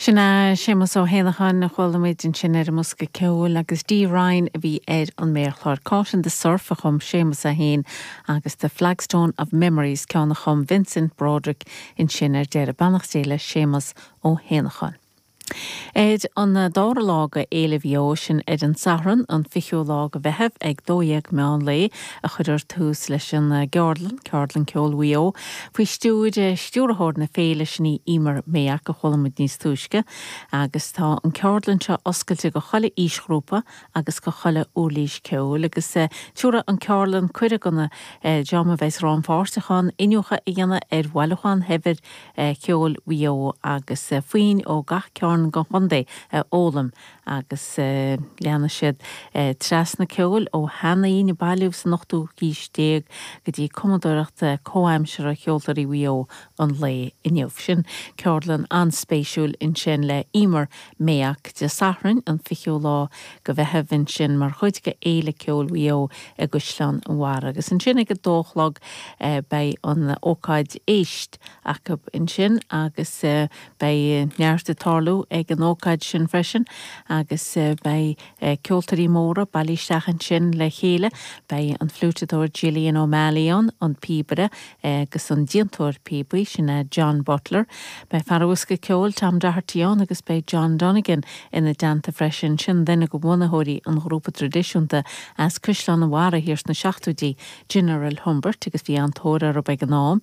Sin é Séamus Ó hÉanacháin a chuala muid ansin ar an mbosca ceoil agus Dee Ryan a bhí ar an méarchlár. Caught in the Surf a chum Séamus é féin agus The Flagstone of Memories, ceann a chum Vincent Broderick ansin ar deireadh. Beannacht Dé le Séamus Ó hÉanacháin. Ar an dara lá de Fhéile Mhaigh Eo, sin ar an Satharn, an 20ú lá de Mheitheamh ag 12 meán lae, a chuirfear tús leis an gceardlann, Ceardlann Ceoil Mhaigh Eo, faoi stiúir stiúrthóir na féile, sin í Emer Mayock, a chuala muid níos túisce, agus tá an ceardlann seo oscailte go chuile aoisghrúpa agus go chuile uirlís ceoil, agus tabharfaidh an ceardlann cuireadh don dream a bheas rannpháirteach ann iniúchadh a dhéanamh ar bhailiúchán shaibhir Cheoil Mhaigh Eo agus foinn ó gach cearn den chontae a fhoghlaim agus leanfaidh siad trasna ceoil ó sheanfhoinn a bailíodh san ochtú haois déag go dtí cumadóireacht comhaimseartha cheoltóirí Mhaigh Eo an lae inniu. Sin ceardlann an-spéisiúil ansin le Emer Mayock Dé Sathairn an 20ú lá de Mheitheamh ansin mar chuid de Fhéile Ceoil Mhaigh Eo i gCaisleán an Bharraigh agus ansin ag a dó a chlog beidh an ócáid Éist acu ansin agus beidh neart ag tarlú ag an ócáid sin freisin agus beidh ceoltóirí móra bailithe isteach ansin le chéile. Beidh an fliúiteadóir Gillian O'Malley ann, an píobaire agus an déantóir píobaí, sin é John Butler. Beidh fear an bhosca ceoil Tom Doherty ann agus beidh John Donegan ina dteannta freisin, sin duine de bhunaitheoirí an ghrúpa traidisiúnta as Caisleán an Bharraigh thiar sna seachtóidí, General Humbert, agus bhí an-tóir orthu ag an am.